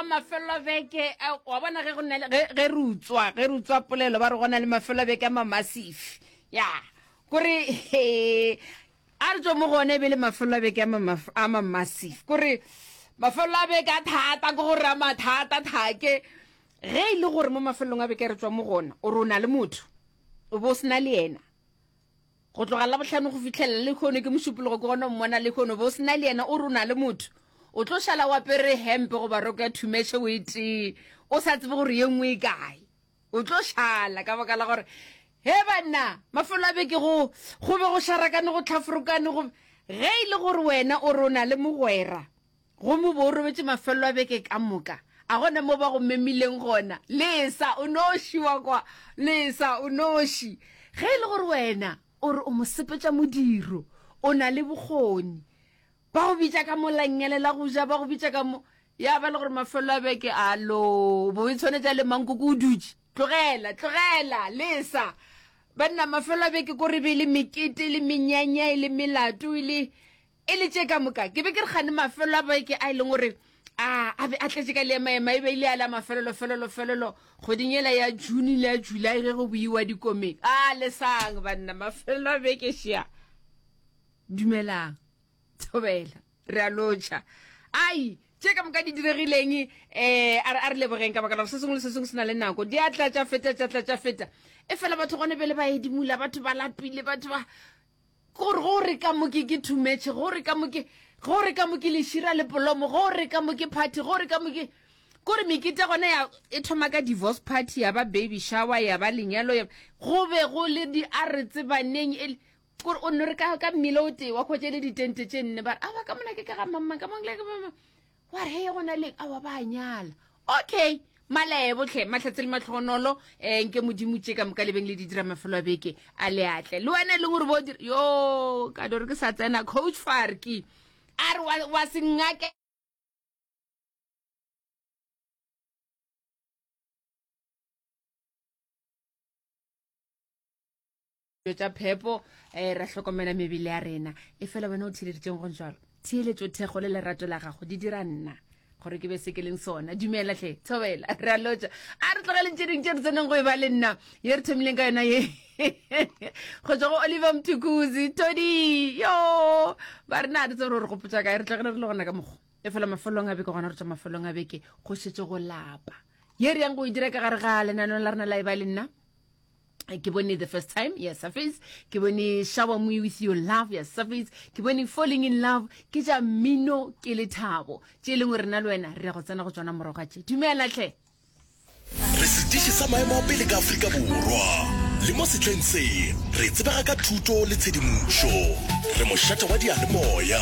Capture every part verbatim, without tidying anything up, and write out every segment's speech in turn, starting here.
Aowa, mafelo a beke, a, wa bona ge go na le, ge, ge re utswa, ge re utswa polelo ba re go na le mafelo a beke a mamasifi. Ya, kore, he, a re tšwe mo go ona e be le mafelo a beke a ma, a mamasifi. Kore mafelo a beke a thata, ke gore a mathata thake. Ge e le gore mo mafelong a beke re tšwa mo go ona, o re o na le motho, o bo o se na le yena. Go tloga Labohlano go fihlela lehono, ke Mošupologo ke gona o mmona lehono, o be o se na le yena, o re o na le motho, o tlo šala o apere hempe goba roko ya thumetšhe o e tee, o sa tsebe gore ye nngwe e kae. O tlo šala ka baka la gore, he banna, mafelo a beke go, go be go šarakane, go hlaforokane, go, ge e le gore wena o re o na le mogwera, gomme o be o robetše mafelo a beke ka moka, a gona mo ba go memileng gona, lesa o noši wa kwa, lesa o noši. Ge e le gore wena o re o mosepetša modiro, o na le bokgoni, ba go bitša ka mo langele la go ja, ba go bitša ka mo, ya ba le gore mafelo a beke, alo, bo e tshwanetša le mankoko o dutše, tlogela, tlogela, lesa. Banna, mafelo a beke ko re be le mekete, le menyanya, e le melato, e le, e le tše ka moka. Ke be ke re kgane mafelo a beke a e leng gore a, a be a tletše ka leemaema, e be e le a la mafelelo, felelo, felelo, kgweding yela ya June le ya July ge go buiwa dikomeng. A lesang banna, mafelo a beke šea. Dumelang, thobela, re a lotšha. Ai, tše ka moka di diregileng, eh, a re, a re lebogeng ka baka la gore se sengwe le se sengwe se na le nako. Di a tla tša feta, tša tla tša feta. E fela batho gone bjale ba edimola, batho ba lapile, batho ba, gore go re ka mo ke, ke thumetšhe, go re ka mo ke, go re ka mo ke lešira le polomo, go re ka mo ke party, go re ka mo ke, kore mekete gona ya, e thoma ka divorce party, ya ba baby shower, ya ba lenyalo, ya, go be go le di a re tsebaneng, e le, kore o nno re ka, ka mmila o tee wa hwetša le ditente tše nne, ba re, aowa, ka mona ke ka ga mamma, ka mona ke ka mamma. Wa re, hei, go na le, aowa, ba a nyala. Okay, malebo hle, mahlatse le mahlogonolo, eh, nke Modimo tše ka moka le beng le di dira mafelo a beke a leatle. Le wena e leng gore bo dira, yo, ka dore ke sa tsena, Coach Farki, a re wa, wa se ngake. Tša phepo, eh, ra hlokomela mebele ya rena. E fela wena o theeleditšeng go jalo, theeletšo, thekgo le lerato la gago di dira nna gore ke be se ke leng sona. Dumela hle, thobela, re a lotša. A re tlogeleng tše dingwe tše re tseneng go e ba le nna ye re thomileng ka yona ye go tšwa go Oliver Mtukudzi, Todi, yo ba rena a re tsebe gore re gopotša kae, re tlogele re le gona ka mokgwa. E fela mafelong a beke gona re tšwa mafelong a beke go šetše go lapa. Ye re yang go e dira ka gare ga lenaneo la rena la e ba le nna. Ke bone The First Time ya Surface, ke bone Shower Me With Your Love ya Surface, ke bone Falling in Love, ke tša mmino ke lethabo tše e lengwe rena le wena re ya go tsena go tšona morago ga tše. Dumela hle. Re setiši sa maemo a pele ka Afrika Borwa, le mo sehleng se re tsebega ka thuto le tshedimošo. Re mošate wa diyalemoya.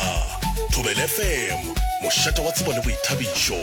Thobela F M, mošate wa tsebo le boithabišo.